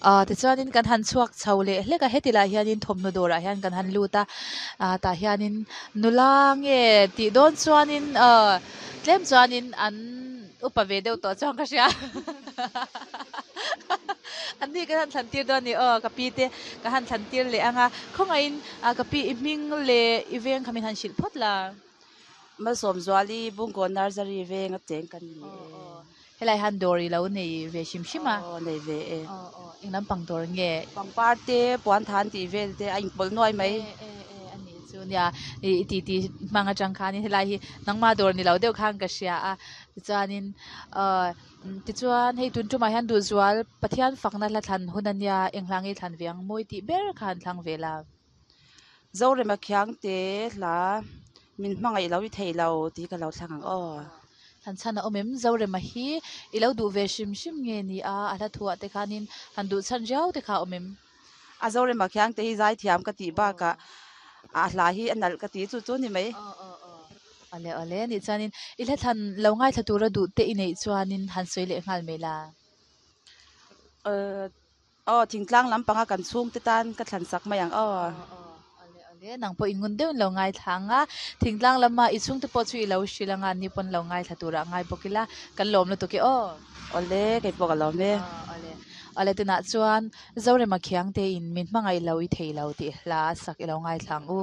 Aaa tichuanin kan han chhuak chho leh hlek a heti lai hianin thawmhnaw dawrah hian kan han lut a ah tah hianin nula nge tih dawn chuanin aw tlem chuanin an upa ve deuh tawh chuan ka hria an ni kan han thlan tir dawn a ni aw ka pi te ka han thlan tir leh ang a khawngaihin ah ka pi i hming leh i veng kha min han hrilh phawt la. Malsawmzuali Bungkawn Nursery veng a cheng ka ni e. Helai hian dawr i lo nei ve hrim hrim a. Aw nei ve e. Aw aw eng lampang dawr nge? Pangpar te, puanthan tih vel te a inpawlh nuai mai. E e e a nih chu nia i ti ti hmang atang khanin helai hi nangma dawr ni lo deuh khan ka hria a tichuanin aw tichuan hei tun tumah hian duhzual Pathian fakna hla thlan hun a nia eng hla nge thlan ve ang mawi tih ber kha an thlang ve la. Zorema Khiangte hla min hmangaih lo i thei lo tih ka lo thlang ang aw. Han chhan a awm em? Zorema hi i lo duh ve hrim hrim nge ni a? A hla thuah te khanin han duh chhan riau te kha a awm em? A Zorema Khiangte hi zaithiam ka tih bakah a hla hi a nalh ka ti chu chu ni mai. Aw aw aw. Awle awle anih chuanin i hla thlan lo ngaithla tura duh te i neih chuanin han sawi leh nghal mai la. Aw. Aw, thingtlang lampanga kan chhungte tan ka thlan sak mai ang aw. Aw, aw, awle awle, nang pawh i ngun deuhin lo ngaithla ang a, thingtlang lama i chhungte pawh chu i lo hrilh ang a, ni pawn lo ngaithla turah ngai bawk ila, kan lawm lutuk e aw. Awle, kei pawh ka lawm e. Aw, awle, awle tunah chuan Zorema Khiangte in min hmangaih lo i thei lo tih hla sak i lo ngaithla ang u.